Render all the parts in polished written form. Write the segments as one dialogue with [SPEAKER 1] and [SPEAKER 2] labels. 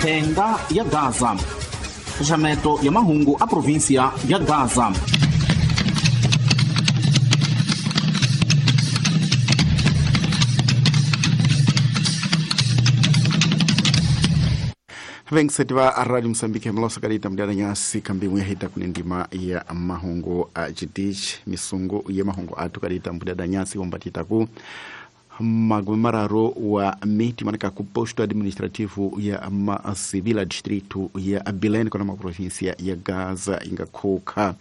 [SPEAKER 1] Thenga ya Gaza. Xaxameto ya mahungu a província ya Gaza.
[SPEAKER 2] Vengiseti va Radio Mozambique mlosa kalita mdiana nyasi kambi mwehita kunendima ya mahungu a chitichi misungu ya mahungu atu kalita mdiana nyasi ombatita ku magumi mararo wa miti manaka ku posto administrativo ya Masivila distrito ya Bilene kona maprovinsia ya Gaza ingakhuka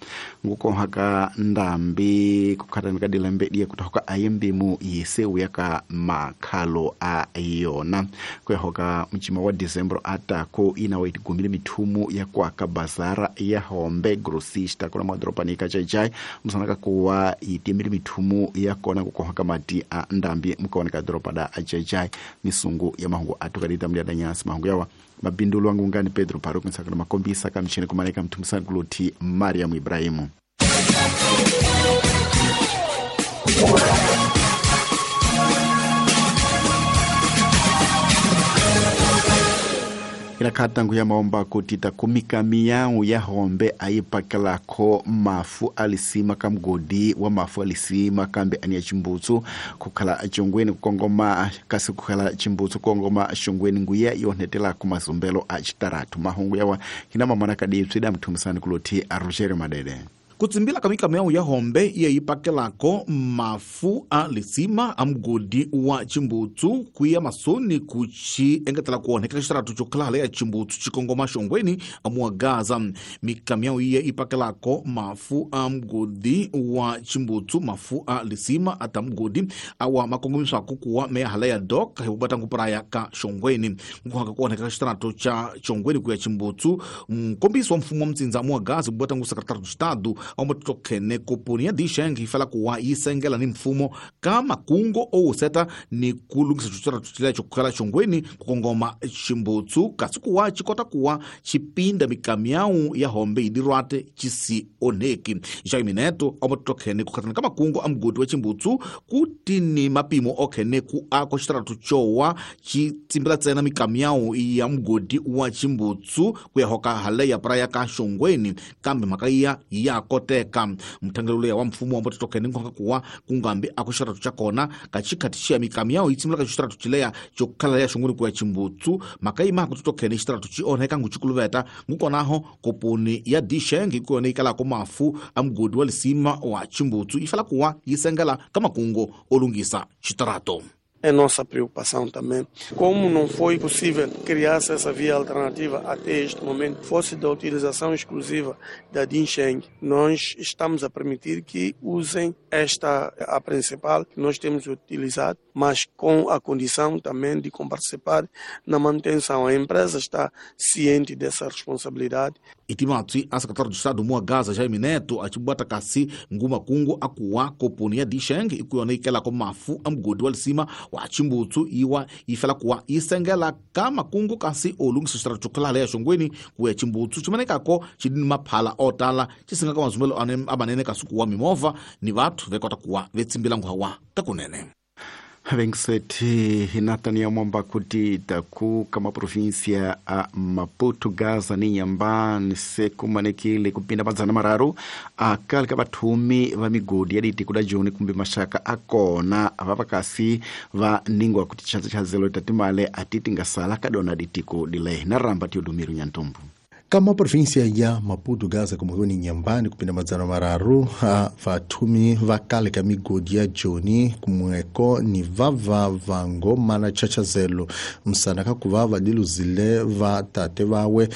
[SPEAKER 2] ngukohaka ndambi kukhatani dilembe diya kuthoka ayembimu yiseu yaka makhalo a yona kuyahoka mchima wa December atako inawa itigumile mithumu ya kwaka bazara ya Hombe grossista kona madropanika chaichai msanaka kuwa itimile mithumu ya kona kukohaka mati a ndambi mkaoneka dropa da ajajai misungu ya mahungu atukalita mliada nyasi mahungu yawa mabindulo wangu ngani Pedro Paruku nsakana makombisa kamchini kumaneka mtumusani kuloti Mariam Ibrahimu. Ilakatangu ya maomba kutita kumika miyau ya Hombe aipakelako mafu alisima kamgodi wa mafu alisima kambe ania chimbutsu kukhala chongweni kukongoma kasi kukhala chimbutsu kukongoma shongweni nguya yonetela kumazumbelo a chitaratu mahungu yawa hina mamana kadipsida mtumusani kuloti Rogerio Madede.
[SPEAKER 3] Kutsimbila kamika ya Hombe yeyipakelako mafu a lisima a mugodi wa chimbutsu kuya masoni kuchi engetela kuoneka xitaratu chokhalale ya chimbutsu chikongoma xongweni amuwa Gaza. Mikamyau iye ipakelako mafu a mugodi wa chimbutsu mafu a lisima ata mugodi awa makongomiswako kuwa meyahala ya dok hikubata ngupuraya ka xongweni nkuhaka kuoneka xitaratu cha xongweni kuya chimbutsu nkombiso wa mfumo wa mtsindza amuwa Gaza kubata ngu secretário do Estado omotokhene koponi ya Disheng ifala kuwa yisengela ni mfumo kama kungo ouseta ni kulungisa chuchira chokhala chongweni kukongoma chimbutsu kasi kuwa chikota kuwa chipinda mikamyau ya Hombe idirwate chisi oneki Jaime Neto omotokhene kukhatana kama kungo amgodi wa chimbutsu kuti ni mapimo okhene ku ako chitaratu chowa chitsimbila tsena mikamyau ya mgodi wa chimbutsu kuyahoka hale ya praya ka shongweni kambe makaiya ya koteka mthangelelo wa mfumo wa mbototokhene nkhonga kuwa kungambi akuxitaratu cha kona kachikhatixia mikamyao yitsimula ka xitaratu chileya chokhala ya xongweni kuya chimbutsu makaima akutotokhene xitaratu chi onheka nguchikuluveta ngukonaho koponi ya Disheng ikuyona ikalako mafu a mugodi wa lisima wa chimbutsu ifala kuwa yisengela ka makungo olungisa xitarato.
[SPEAKER 4] É nossa preocupação também. Como não foi possível criar essa via alternativa até este momento, fosse da utilização exclusiva da Dinsheng, nós estamos a permitir que usem esta, a principal, que nós temos utilizado, mas com a condição também de participar na manutenção. A empresa está ciente dessa responsabilidade.
[SPEAKER 3] Itimatsi, a secretário de Estado Mua Gaza, Jaime Neto, achibwata kasi ngumakungu akuwa koponi ya Disheng ikuyona ikela ko mafu amgodi wa lisima wa chimbutsu iwa ifela kuwa isengela kama kungu kasi olungisa xitaratu chokhalale ya xongweni kuya chimbutsu chimanekako chidini maphala otala chisinga ka mazumbelo amanene kasi kuwa mimovha ni vathu vekota kuwa vetsimbila nguhawa kakunene.
[SPEAKER 2] Vengiseti hinatania mwamba kuti taku kama província a Maputo Gaza ni Nyambani sekumanekile kupinda madzana mararu akali ka vathumi va migodi ya ditiko da joni kumbe maxaka akona vavakasi va ningwa kuti chanza chazelo tatimale atiti ngasala kadona ditiko dile na ramba Teodomiro Nyantombo.
[SPEAKER 5] Kama província ya Maputo Gaza como ni Nyambani kupinda madzana mararu a vathumi va kale ka migodi ya joni kumweko ni vava vango mana chachazelo msana kakuva vadiluzile va tate vawe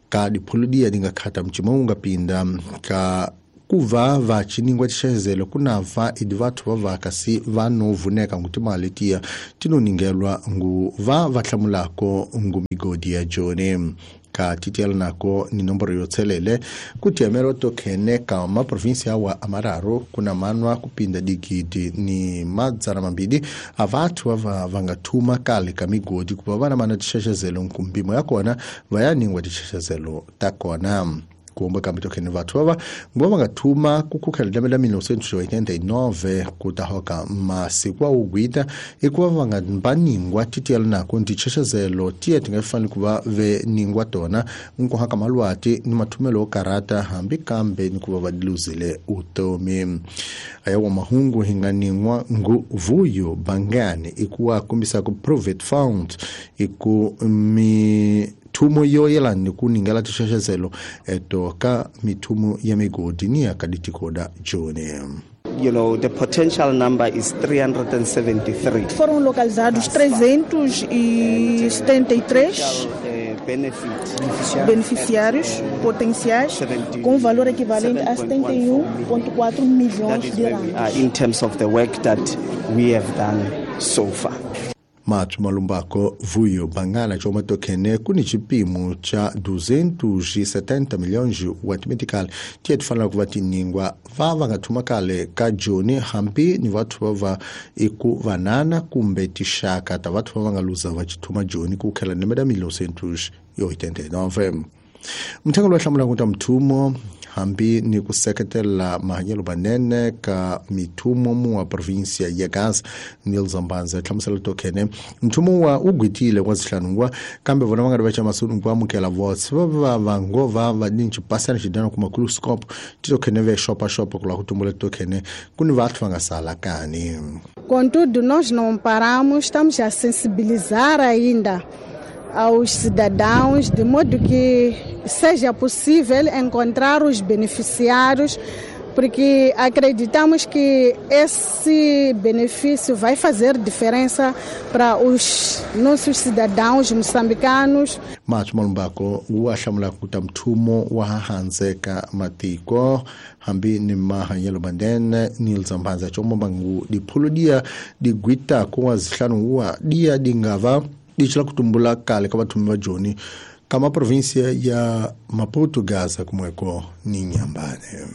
[SPEAKER 5] ka diphuludia dingakhata mchimo ungapinda ka kuva vachiningwa tixezelo kunava idi vathu va vakasi vanovuneka ngu timali tiya tinoningelwa ngu va vahlamulako ngu migodi ya joni ka titiela nako ni nomboro yotselele kutiamelo tokhene ka maprovinsia wa amararo kuna manwa kupinda digidi ni madzana mambili avathu ava vangathuma kale ka migodi kuva vana mana tixexezelo nkumpimo ya kona vayaningwa tixexezelo ta kona. Kuomba kambe tokhene vathu vava nguva va nga thuma ku khukhela lembe la 1989 ku ta hoka masiku wa ugwita i ku va va nga mbaningwa titiyela nako ntichechezelo tiye ti nga fanele ku va ve ningwa tona nkuhaka malwati ni mathumelo yo karata hambi kambe ni ku va va luzile utomi. Aya wa mahungu hi nga ningwa nguvuyo bangani i ku wa kombisa ku private fund i ku mi thumo yo yelana ni ku ningela tixexezelo eto ka mithumo ya migodi ni ya ka ditikoda joni.
[SPEAKER 6] You know, the potential number is 373.
[SPEAKER 7] Foram localizados 373 beneficiários potenciais com valor equivalente a 71,4 milhões de rands.
[SPEAKER 6] In terms of the work that we have done so far.
[SPEAKER 5] Mathu malumbako vuyo bangala choma tokhene kuni chipimo cha 270 milhões wa timetikali tiye tifanela ku va tiningwa va va nga thuma kale ka joni hambi ni vathu va va iku vanana kumbe tixaka ta vathu va va nga luza va chithuma joni ku khela lembe la 1989. Mthengo lowu hlamulaka ta mthumo hambi ni ku seketela mahanyelo manene ka mithumo mu wa provinsia ya Gaza Neil Zambanza hlamusela tokhene mthumo wa ugwitile kwa zihlanungwa kambe vona va nga ri va chamasunu ku amukela votes va va va ngova va ni chipasana xidana kuma kuluskop titokhene ve shopa shopa ku la ku tumbula tokhene ku ni vathu va nga sala kani.
[SPEAKER 8] Contudo, nós não paramos, estamos a sensibilizar ainda aos cidadãos, de modo que seja possível encontrar os beneficiários, porque acreditamos que esse benefício vai fazer diferença para os nossos cidadãos moçambicanos.
[SPEAKER 5] Mathu malumbako wa hlamula ku ta mthumo wa hanzeka matiko hambi ni mahanyelo mandene Neil Zambanza chomo bangu diphuludia digwita kwa zihlanu wa dia dingava dichila kutumbula kale ka vathumi va joni kama provinsia ya Maputo Gaza kumweko ni Nyambane.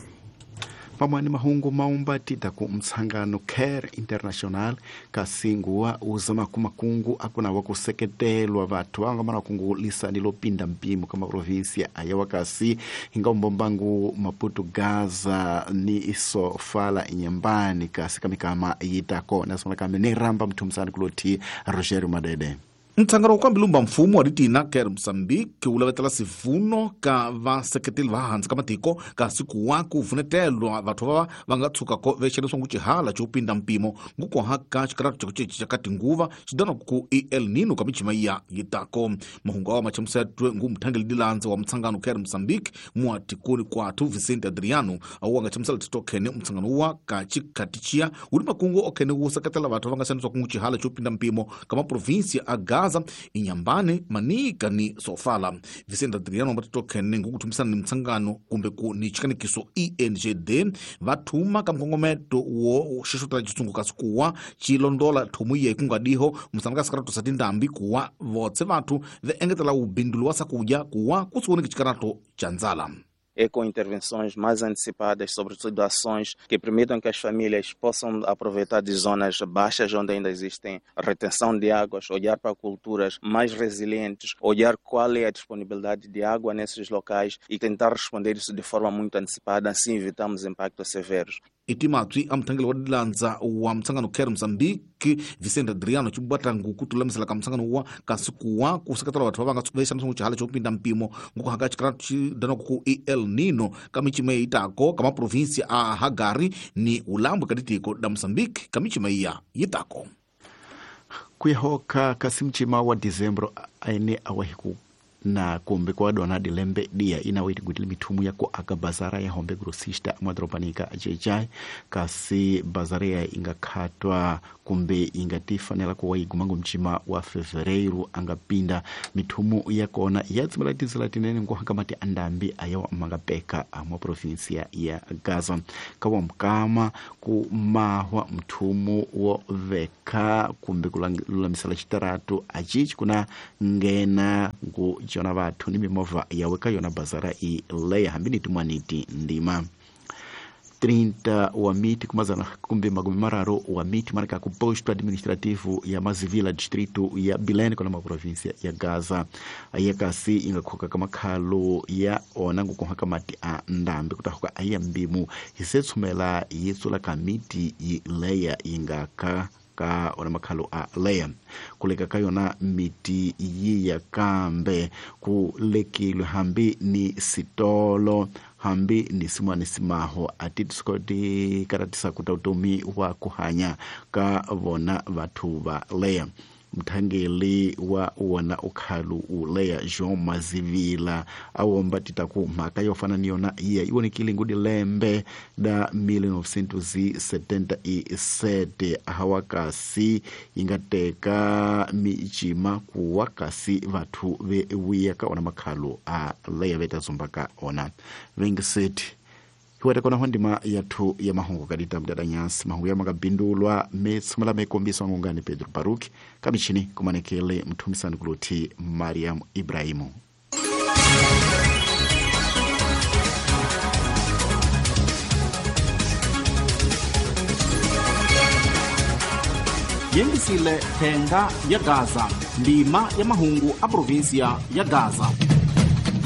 [SPEAKER 2] Pamwe ni mahungu maumba tita ku mtsangano Care International kasinguwa uzama kumakungu akuna wakuseketelwa vathu vanga mana kungu lisani lopinda mpimo kama provinsia aya wakasi hinga mbombangu Maputo Gaza ni iso fala Inyambani kasi kamikama yitako nasona kame ni ramba mthumsani kuloti Rogerio Madede.
[SPEAKER 3] Mtsangano wa mbilumba mfumo wa ritina Care Mozambique wu lavetela sivuno ka vaseketeli va hansi ka matiko kasi ku wa ku vunetelwa vathu va va nga tshukako vexaniswa ngu xihala xo pinda mpimo ngukoha ka xikaratu xa ku cinca ka tinguva xidana ku El Nino ka michima ya yitako. Mahungu awa machamusetwe ngu muthangeli dilandza wa mtsangano Care Mozambique muatikoni kwathu Vicente Adriano awu nga chamusela titokhene mtsangano wa ka xikatichia wu ri makungu okhene wu seketela vathu va nga xaniswa ku ngu xihala xo pinda mpimo ka maprovinsia a Gaza, Inyambane, Manika ni Sofala. Vicente Adriano mbatitokhene ngukuthumisana ni mtsangano kumbe ku ni chikanikiso ENGD vathuma ka mkongometo wo xixotela xitsungu kasi kuwa xilondola thomu ye kungadiho musana ka sikarato sa tindhambi kuwa votse vathu ve engetela wubindulu wa sakudya kuwa kusiwoneki xikarato xa ndzala.
[SPEAKER 9] É com intervenções mais antecipadas, sobretudo ações que permitam que as famílias possam aproveitar de zonas baixas onde ainda existem retenção de águas, olhar para culturas mais resilientes, olhar qual é a disponibilidade de água nesses locais e tentar responder isso de forma muito antecipada, assim evitamos impactos severos.
[SPEAKER 3] Itimatwi a muthangeli wa dilandza wa mtsangano Care Mozambique Vicente Adriano chibwata nguku tulamisela ka mtsangano wa kasi kuwa ku seketela vathu va va nga vexaniswa xihala xo pinda mpimo ngukuhaka xikaratu xidana ku El Nino ka michima yitako ka maprovinsia a Hagari ni Ulambo ka ditiko da Mozambique ka michima ya yitako.
[SPEAKER 2] Kuyahoka kasi mchima wa Dezembro aine awahiku na kumbe kwa dona dilembe dia ina witi gutili mithumu ya ku aka bazara ya hombe grosista madropanika jejai kasi bazara ya ingakhatwa kumbe ingatifanela kuwa igumango mchima wa fevereiro angapinda mithumu ya kona ya tsimela tizela tinene ngohaka mati andambi ayawa mangapeka mwa provinsia ya Gaza kawa mkama ku mahwa mthumu wo veka kumbe kululamisela xitaratu achichi kuna ngena ngu jona vathu ni mimovha yawe ka yona bazara i leya hambi ni tin'waniti ndima. 30 wa miti kumazana kumbe makumi mararu wa miti marika ku posto administrativo ya Mazivila, distrito ya Bilene, kona maprovinsia ya Gaza. Ayiya kasi ingakhoka ka makhalo ya ona ngukoha ka mati a ndambi kutahuka ayiya mbimu hisetshumela yi tsula ka miti yi leya ingaka ka ona makhalo a leya kuleka ka yona miti yiya kambe ku lekilwe hambi ni sitolo hambi ni simwani simaho ati tisikoti karatisa kuta utomi wa kuhanya ka vona vathu va leya. Mthangeli wa wona ukhalu uleya Jean Mazivila awomba titaku mhaka yo fana ni yona iya iwonekile ngudi lembe da 1977 ahawakasi ingateka michima kuwakasi vathu vewiya ka ona makhalu a leya veta zumbaka ona vengiseti hiwete kona ho ndima yathu ya mahungu kadita mdada nyasi mahungu ya makabindulwa metsumela mekombiswa ngungani Pedro Baruki kamichini kumanekele mthumisani kuluthi Mariam Ibrahimu. Yengisile thenga ya Gaza, ndima ya mahungu a provinsia ya Gaza.